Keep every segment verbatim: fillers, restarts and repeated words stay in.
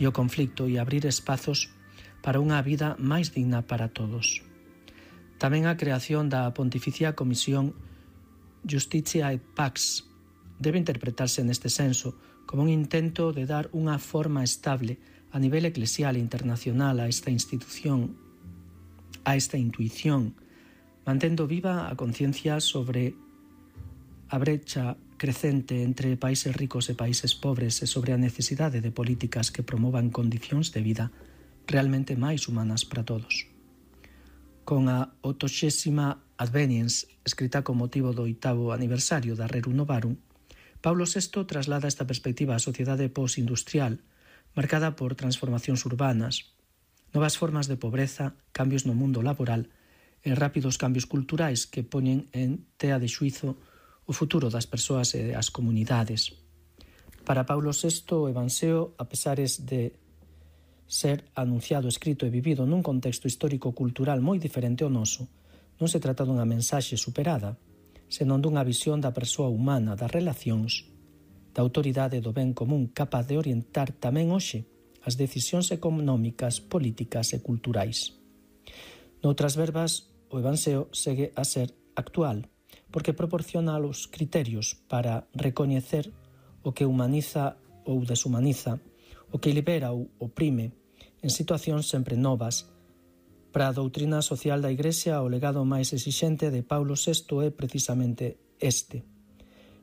e o conflicto e abrir espazos para unha vida máis digna para todos. Tamén a creación da Pontificia Comisión Justitia et Pax debe interpretarse neste senso como un intento de dar unha forma estable a nivel eclesial e internacional a esta institución, a esta intuición, mantendo viva a conciencia sobre a brecha crecente entre países ricos e países pobres e sobre a necesidade de políticas que promovan condicións de vida realmente máis humanas para todos. Con a oitoxésima Adveniens, escrita con motivo do oitavo aniversario da Rerum Novarum, Paulo sexto traslada esta perspectiva á sociedade postindustrial, marcada por transformacións urbanas, novas formas de pobreza, cambios no mundo laboral e rápidos cambios culturais que poñen en tea de xuizo o futuro das persoas e as comunidades. Para Paulo sexto, o Evanxeo, a pesares de ser anunciado, escrito e vivido nun contexto histórico-cultural moi diferente ao noso, non se trata dunha mensaxe superada, senón dunha visión da persoa humana, das relacións, da autoridade do ben común capaz de orientar tamén hoxe as decisións económicas, políticas e culturais. Noutras verbas, o Evanxeo segue a ser actual, porque proporciona os criterios para recoñecer o que humaniza ou deshumaniza, o que libera ou oprime, en situacións sempre novas. Para a doutrina social da Igrexa, o legado máis exixente de Paulo sexto é precisamente este.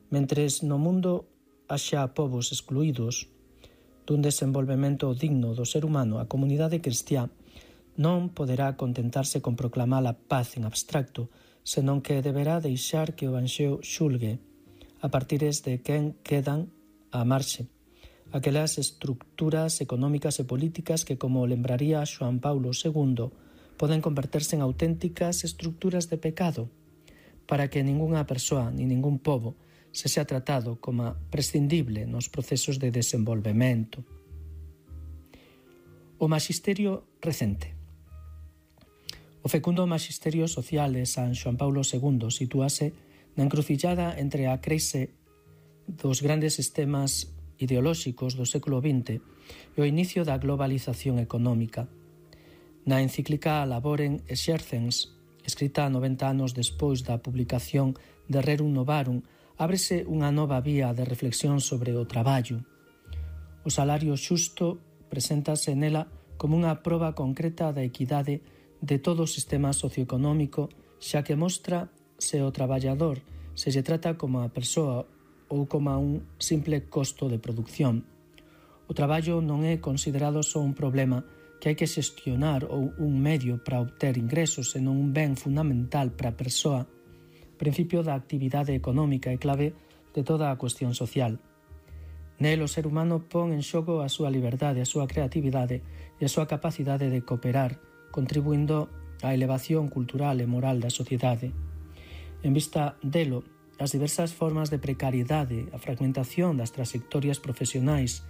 Mentres no mundo haxa povos excluídos dun desenvolvemento digno do ser humano, a comunidade cristiá non poderá contentarse con proclamar a paz en abstracto, senón que deberá deixar que o Evanxeo xulgue a partires de quen quedan á marxe, aquelas estructuras económicas e políticas que, como lembraría Xoán Paulo segundo, poden converterse en auténticas estructuras de pecado, para que ningunha persoa ni ningún pobo se sea tratado como prescindible nos procesos de desenvolvemento. O maxisterio recente. O fecundo maxisterio social de San Xoán Paulo segundo sitúase na encrucillada entre a crise dos grandes sistemas ideolóxicos do século vinte e o inicio da globalización económica. Na encíclica Laborem Exercens, escrita noventa anos despois da publicación de Rerum Novarum, ábrese unha nova vía de reflexión sobre o traballo. O salario xusto preséntase nela como unha proba concreta da equidade de todo o sistema socioeconómico, xa que mostra se o traballador se lle trata como a persoa ou como un simple costo de produción. O traballo non é considerado só un problema que hai que xestionar ou un medio para obter ingresos, senón un ben fundamental para a persoa, principio da actividade económica e clave de toda a cuestión social. Nel o ser humano pon en xogo a súa liberdade, a súa creatividade e a súa capacidade de cooperar, contribuindo á elevación cultural e moral da sociedade. En vista delo, as diversas formas de precariedade, a fragmentación das trayectorias profesionais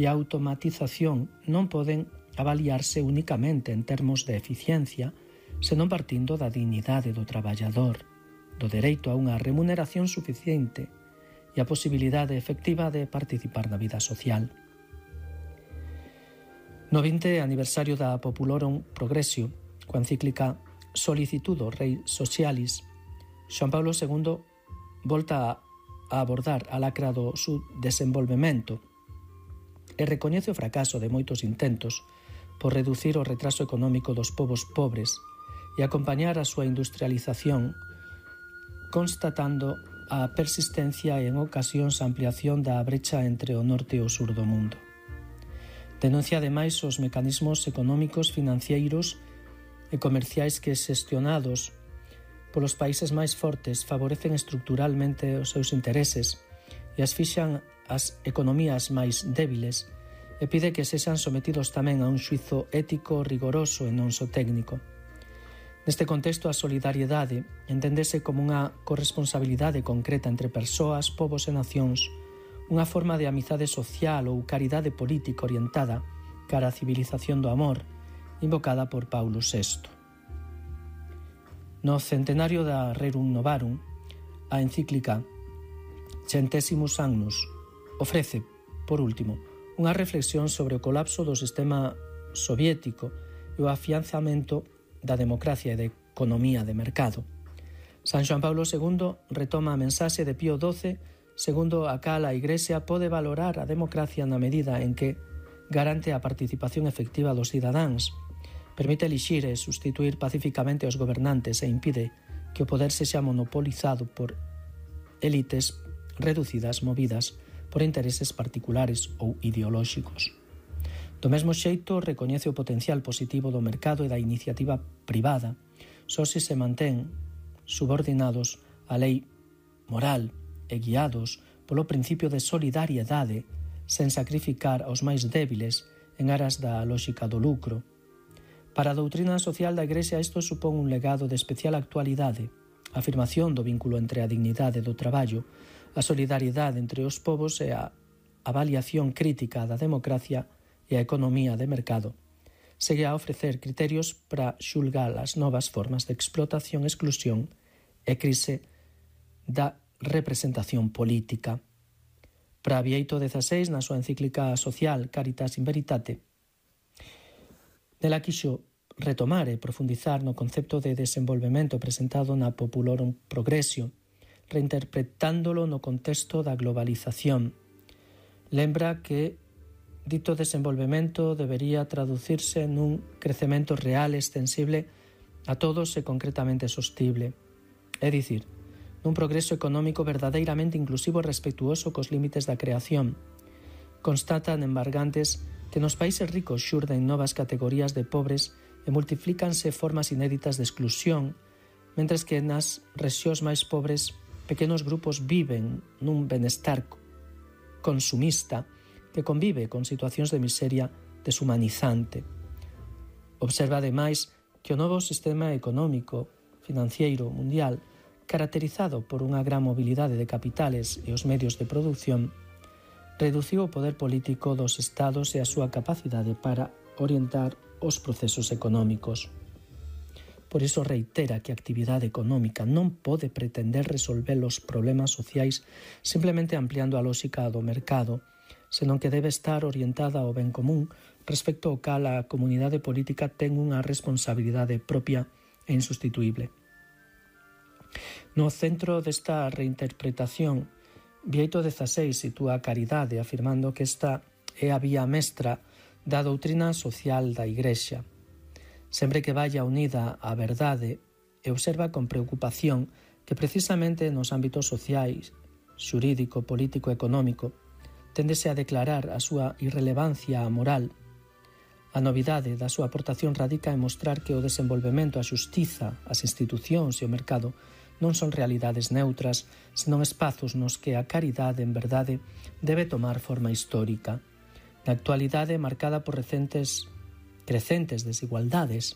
e a automatización non poden avaliarse únicamente en termos de eficiencia, senón partindo da dignidade do traballador, do dereito a unha remuneración suficiente e a posibilidade efectiva de participar na vida social. No vinte aniversario da Populorum Progressio, coa encíclica Solicitudo Rei Socialis, Xoán Paulo segundo volta a abordar a lacra do subdesenvolvemento e recoñece o fracaso de moitos intentos por reducir o retraso económico dos povos pobres e acompañar a súa industrialización, constatando a persistencia e en ocasións a ampliación da brecha entre o norte e o sur do mundo. Denuncia ademais os mecanismos económicos, financeiros e comerciais que, xestionados polos países máis fortes, favorecen estructuralmente os seus intereses e asfixan as economías máis débiles e pide que sexan sometidos tamén a un xuizo ético rigoroso e non só técnico. Neste contexto, a solidariedade enténdese como unha corresponsabilidade concreta entre persoas, povos e nacións, unha forma de amizade social ou caridade política orientada cara á civilización do amor, invocada por Paulo sexto. No centenario da Rerum Novarum, a encíclica Centesimus Annus ofrece, por último, unha reflexión sobre o colapso do sistema soviético e o afianzamento da democracia e da economía de mercado. San Xoán Paulo segundo retoma a mensaxe de Pío doce, segundo a cal a Igrexa pode valorar a democracia na medida en que garante a participación efectiva dos cidadáns, permite elixir e sustituir pacificamente aos gobernantes e impide que o poder sexa monopolizado por élites reducidas movidas por intereses particulares ou ideolóxicos. Do mesmo xeito, recoñece o potencial positivo do mercado e da iniciativa privada, só se se mantén subordinados á lei moral e guiados polo principio de solidariedade sen sacrificar aos máis débiles en aras da lóxica do lucro. Para a doutrina social da Igrexa isto supón un legado de especial actualidade, a afirmación do vínculo entre a dignidade do traballo, a solidariedade entre os povos e a avaliación crítica da democracia e a economía de mercado. Segue a ofrecer criterios para xulgar as novas formas de explotación, exclusión e crise da representación política. Para Bieito dezasseis, na súa encíclica social Caritas in Veritate, nela quixo retomar e profundizar no concepto de desenvolvemento presentado na Populorum Progressio, reinterpretándolo no contexto da globalización. Lembra que dito desenvolvemento debería traducirse nun crecemento real extensible a todos e concretamente sostible, é dicir, nun progreso económico verdadeiramente inclusivo e respectuoso cos límites da creación. Constatan embargantes que nos países ricos xurden novas categorías de pobres e multiplícanse formas inéditas de exclusión, mentres que nas rexións máis pobres pequenos grupos viven nun benestar consumista que convive con situacións de miseria deshumanizante. Observa, ademais, que o novo sistema económico financiero mundial, caracterizado por unha gran mobilidade de capitales e os medios de produción, reduciu o poder político dos estados e a súa capacidade para orientar os procesos económicos. Por iso reitera que a actividade económica non pode pretender resolver os problemas sociais simplemente ampliando a lógica do mercado, senón que debe estar orientada ao ben común respecto ao cal a comunidade política ten unha responsabilidade propia e insustituíble. No centro desta reinterpretación, Bieito dezasseis sitúa a caridade afirmando que esta é a vía mestra da doutrina social da Igrexa. Sempre que vaya unida á verdade e observa con preocupación que precisamente nos ámbitos sociais, xurídico, político e económico, téndese a declarar a súa irrelevancia moral. A novidade da súa aportación radica en mostrar que o desenvolvemento, a xustiza, as institucións e o mercado non son realidades neutras, senón espazos nos que a caridade, en verdade, debe tomar forma histórica. Na actualidade, marcada por recentes crecentes desigualdades,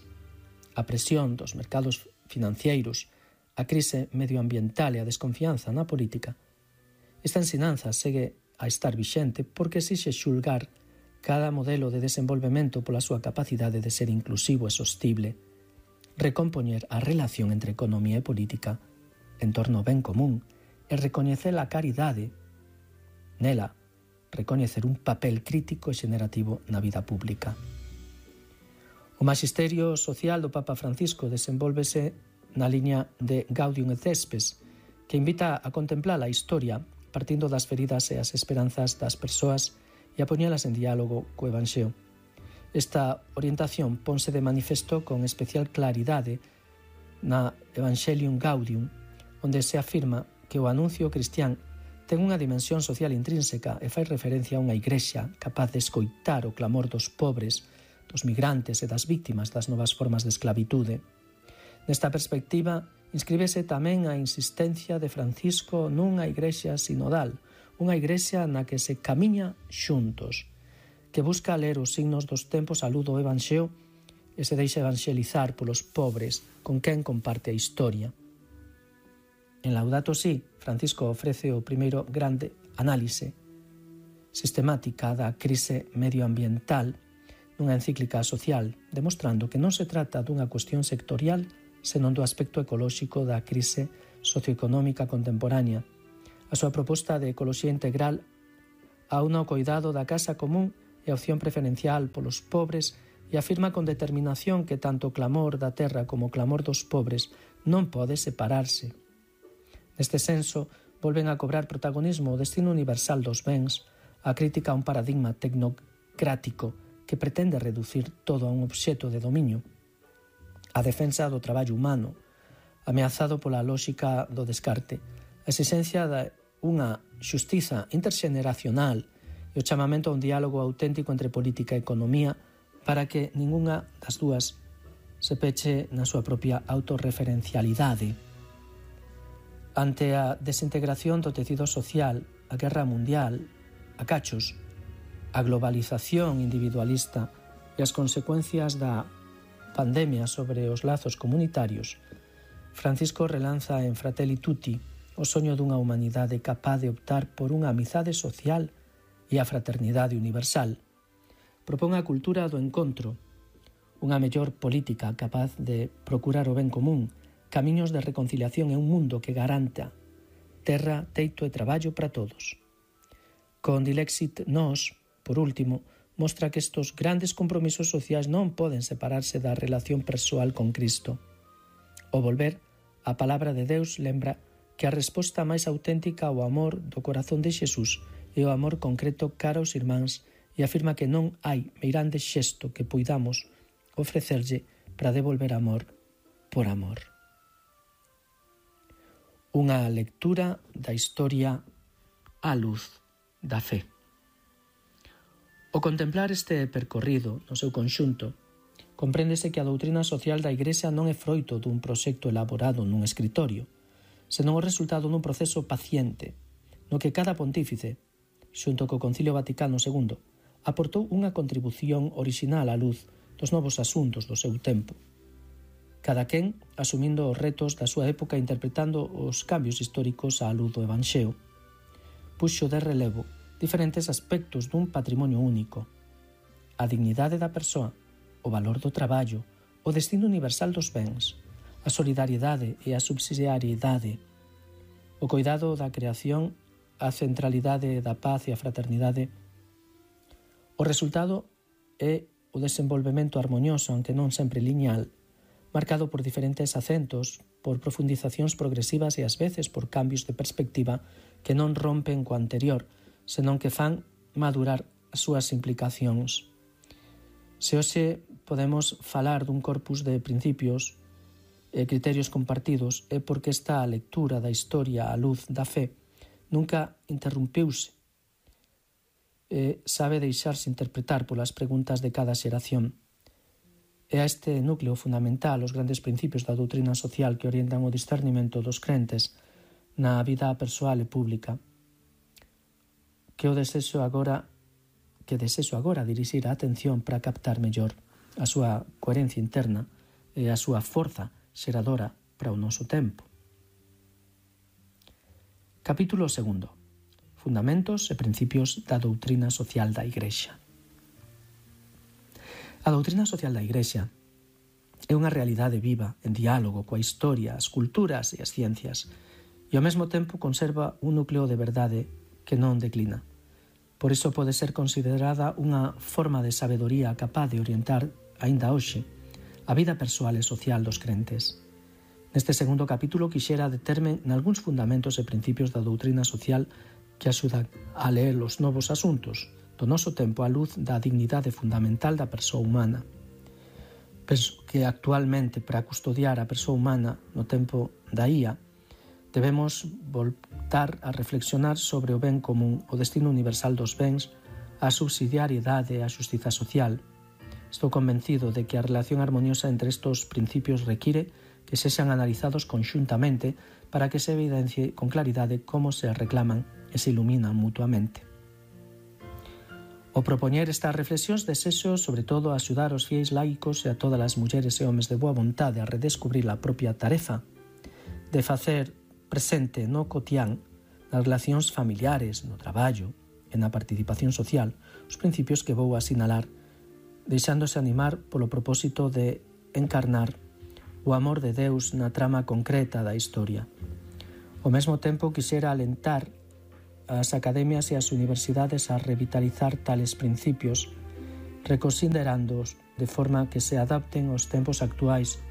a presión dos mercados financeiros, a crise medioambiental e a desconfianza na política, esta ensinanza segue a estar vixente porque exixe xulgar cada modelo de desenvolvemento pola súa capacidade de ser inclusivo e sostible, recompoñer a relación entre economía e política en torno ao ben común e recoñecer a caridade, nela, recoñecer un papel crítico e xenerativo na vida pública. O magisterio social do Papa Francisco desenvólvese na liña de Gaudium et Spes, que invita a contemplar a historia partindo das feridas e as esperanzas das persoas e a poñelas en diálogo co Evanxeo. Esta orientación ponse de manifesto con especial claridade na Evangelium Gaudium, onde se afirma que o anuncio cristián ten unha dimensión social intrínseca e fai referencia a unha igrexa capaz de escoitar o clamor dos pobres, dos migrantes e das víctimas das novas formas de esclavitude. Nesta perspectiva, inscríbese tamén a insistencia de Francisco nunha igrexa sinodal, unha igrexa na que se camiña xuntos, que busca ler os signos dos tempos á luz do Evanxeo e se deixa evanxelizar polos pobres con quen comparte a historia. En Laudato Si, Francisco ofrece o primeiro grande análise sistemática da crise medioambiental nunha encíclica social, demostrando que non se trata dunha cuestión sectorial, senón do aspecto ecolóxico da crise socioeconómica contemporánea. A súa proposta de ecoloxía integral aúna o coidado da casa común e a opción preferencial polos pobres e afirma con determinación que tanto o clamor da terra como o clamor dos pobres non pode separarse. Neste senso, volven a cobrar protagonismo o destino universal dos bens, a crítica a un paradigma tecnocrático que pretende reducir todo a un obxecto de dominio, a defensa do traballo humano, ameazado pola lóxica do descarte, a exigencia de unha xustiza interxeneracional e o chamamento a un diálogo auténtico entre política e economía para que ningunha das dúas se peche na súa propia autorreferencialidade. Ante a desintegración do tecido social, a guerra mundial, a cachos, a globalización individualista e as consecuencias da pandemia sobre os lazos comunitarios, Francisco relanza en Fratelli Tutti o soño dunha humanidade capaz de optar por unha amizade social e a fraternidade universal. Propón a cultura do encontro, unha mellor política capaz de procurar o ben común, camiños de reconciliación e un mundo que garanta terra, teito e traballo para todos. Con Dilexit Nos, por último, mostra que estes grandes compromisos sociais non poden separarse da relación persoal con Cristo. O volver á palabra de Deus lembra que a resposta máis auténtica ao amor do corazón de Xesús é o amor concreto cara aos irmáns e afirma que non hai meirande xesto que poidamos ofrecerlle para devolver amor por amor. Unha lectura da historia á luz da fe. Ao contemplar este percorrido no seu conxunto, compréndese que a doutrina social da Igrexa non é froito dun proxecto elaborado nun escritorio, senón o resultado dun proceso paciente, no que cada pontífice, xunto co Concilio Vaticano segundo, aportou unha contribución orixinal á luz dos novos asuntos do seu tempo. Cada quen asumindo os retos da súa época e interpretando os cambios históricos á luz do Evanxeo. Puxo de relevo diferentes aspectos dun patrimonio único: a dignidade da persoa, o valor do traballo, o destino universal dos bens, a solidariedade e a subsidiariedade, o coidado da creación, a centralidade da paz e a fraternidade. O resultado é o desenvolvemento harmonioso, aunque non sempre lineal, marcado por diferentes acentos, por profundizacións progresivas e ás veces por cambios de perspectiva que non rompen co anterior, senón que fan madurar as súas implicacións. Se hoxe podemos falar dun corpus de principios e criterios compartidos é porque esta lectura da historia á luz da fe nunca interrumpiuse e sabe deixarse interpretar polas preguntas de cada xeración. É a este núcleo fundamental os grandes principios da doutrina social que orientan o discernimento dos crentes na vida persoal e pública, que o desexo agora que desexo agora dirixir a atención para captar mellor a súa coherencia interna e a súa forza xeradora para o noso tempo. Capítulo segundo. Fundamentos e principios da doutrina social da Igrexa. A doutrina social da Igrexa é unha realidade viva en diálogo coa historia, as culturas e as ciencias e ao mesmo tempo conserva un núcleo de verdade que non declina. Por iso pode ser considerada unha forma de sabedoría capaz de orientar, aínda hoxe, a vida persoal e social dos crentes. Neste segundo capítulo quixera determe nalgúns fundamentos e principios da doutrina social que axudan a ler os novos asuntos do noso tempo á luz da dignidade fundamental da persoa humana. Penso que actualmente, para custodiar a persoa humana no tempo da I A, debemos voltar a reflexionar sobre o ben común, o destino universal dos bens, a subsidiariedade e a xustiza social. Estou convencido de que a relación armoniosa entre estes principios require que sexan analizados conxuntamente para que se evidencie con claridade como se reclaman e se iluminan mutuamente. O propoñer estas reflexións desexo, sobre todo, axudar os fiéis laicos e a todas as mulleres e homes de boa vontade a redescubrir a propia tarefa de facer presente no cotián, nas relacións familiares, no traballo e na participación social, os principios que vou asinalar, deixándose animar polo propósito de encarnar o amor de Deus na trama concreta da historia. Ao mesmo tempo, quixera alentar as academias e as universidades a revitalizar tales principios, reconsiderándoos de forma que se adapten aos tempos actuais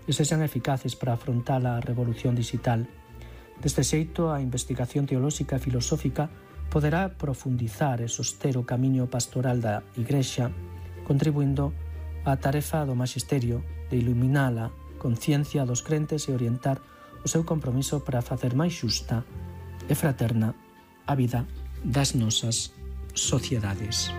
e sexan eficaces para afrontar a revolución digital. Deste xeito, a investigación teolóxica e filosófica poderá profundizar e soster o camiño pastoral da Igrexa, contribuindo á tarefa do Magisterio de iluminar a conciencia dos crentes e orientar o seu compromiso para facer máis xusta e fraterna a vida das nosas sociedades.